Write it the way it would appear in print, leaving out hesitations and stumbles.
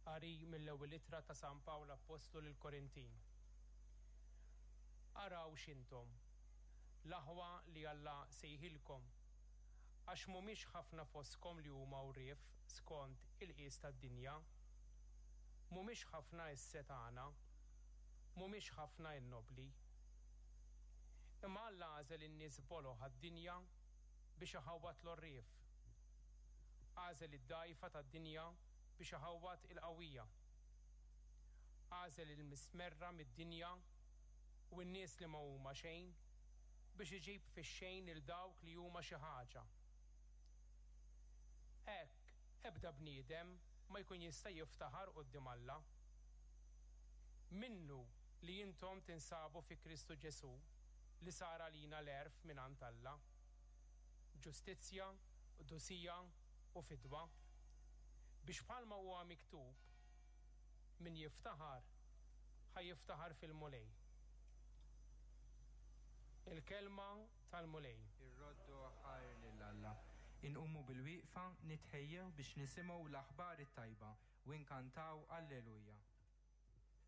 Qari mill-Ewwel Ittra ta' San Pawl Appostlu lill-Korintin. Araw x'intom, l-aħwa li Alla sejħilkom, għax mhumiex ħafna fostkom li huma għorrief skont il-qies tad-dinja, mhumiex ħafna s-setgħana, mhumiex ħafna n-nobbli. Imma Alla għażel in-nies boloh għad-dinja biex iħawwad l-għorrief. Għażel id-dgħajfa tad-dinja biex iħawwad il-qawwija. Għażel il-mistmerra mid-dinja u n-nies li ma huma xejn biex iġib fix-xejn lil dawk li huma xi ħaġa. Hekk ebda bniedem ma jkun jista' jiftaħar quddiem Alla. Minnu li intom tinsabu fi Kristu Ġesù li sar għalina l-għerf mingħand Alla, ġustizzja, qdusija u fidwa, biex bħalma huwa miktub, Min jiftaħar, ħa jiftaħar fil-Mulej. Il-Kelma tal-Mulej. Irroddu ħajr lil Alla. Inqumu bilwieqfa, nitħejjew biex nisimgħu l-aħbar it-tajba u nkantaw Alleluja.